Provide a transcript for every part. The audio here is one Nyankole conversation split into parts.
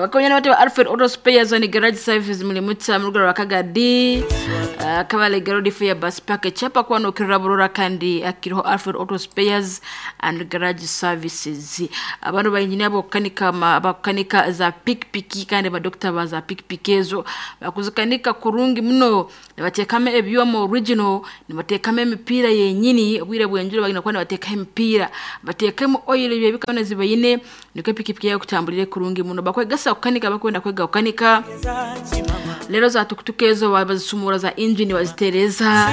Abakonya bati ba Alfred Auto Spares and Garage Services muli mutsa mu rugero rwa Kagadi, Kabale Road Fair Bus Park ekyapa kuba nokirira burora kandi akiriho Alfred Auto Spares and Garage Services. Abano ba engineer bokukanika abakukanika za pikipiki kandi ba doctor ba za pikipiki ezo bakuzikanika kurungi muno, nibateekamu ebyoma original, nibateekamu emipiira yenyini, obwire bw'enjura bagenda kuba nibateekaho emipiira, bateekemu oil ebyo ebika byona zibaine nikwo epikipiki yaawe ekutambulire kurungi muno. Bakwegesa kukanika abakwenda kwega kukanika, reero za tukutuku ezo bazisumura za engine bazitereeza.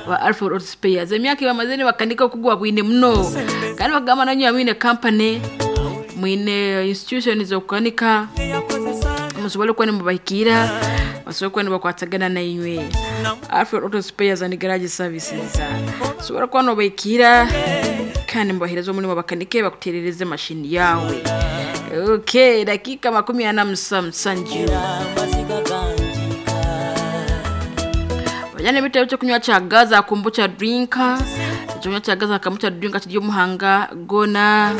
Ba Alfred Auto Spares emyaka ei bamazire nibakanika okugwa bwine muno kandi bakugamba nanywe mwine company mwine institution z'okukanika musobole kuba nimubahikiira basobole kuba nibakwatagana nainywe. Alfred Auto Spares and Garage Services osobora kuba nobahikiira kandi nimubaheereza omurimo bakanike bakuteerereze mashini yaawe. Okay, dakiika 47. Bajana ebitabo ekyokunywa kya Gaza kombucha drink. Ekyokunywa kya Gaza kombucha drink kiri omu mahanga goona,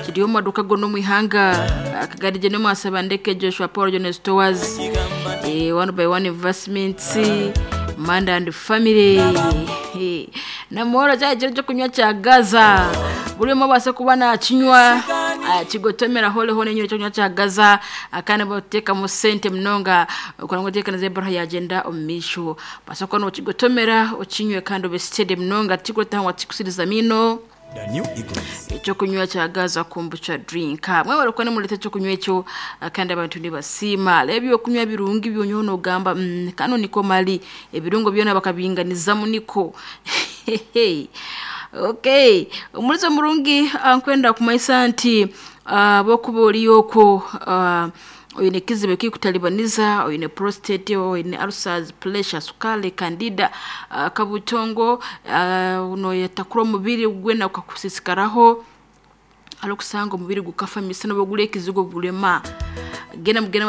kiri omu maduuka goona omu ihanga. Akagari gye n'omwasaba Ndeke Joshua Paul John Stores, eh, One by One Investments, Manda and Family. Eh, Namworo kya ekiro ekyokunywa kya Gaza. Buri omwe abaase kuba nakinywa akigotomera hore hoona enywa ekyokunywa kya Gaza kandi bateekamu sente munonga kureba ngu entebeekanisa y'ebaruha yagyenda omu maisho. Obaasa kuba nokigotomera okinywe kandi obe steady munonga tikikureetaho ngu tikikusiriza amaino. The New Eagles. Ekyokunywa kya Gaza Kombucha Drink. Mwebare kuba nimureeta ekyokunywa ekyo kandi abantu nibasiima. Reeba ebyokunywa birungi byonywaho nogamba mm, kanu niko mali. Ebirungo byona bakabinganizamu niko. Okay, omurizo murungi nkwenda kumanyisa nti ahabw'okuba ori okwo oine ekizibu ekirikutaribaniza, oine prostate, oine ulcers, pressure, sukaari, candida, kabutongo, noyetakura omubiri gwena gukakusiisikaraho, hariho okusanga omubiri gukafa misana oba ogura ekizigo gurema. Genda mugende.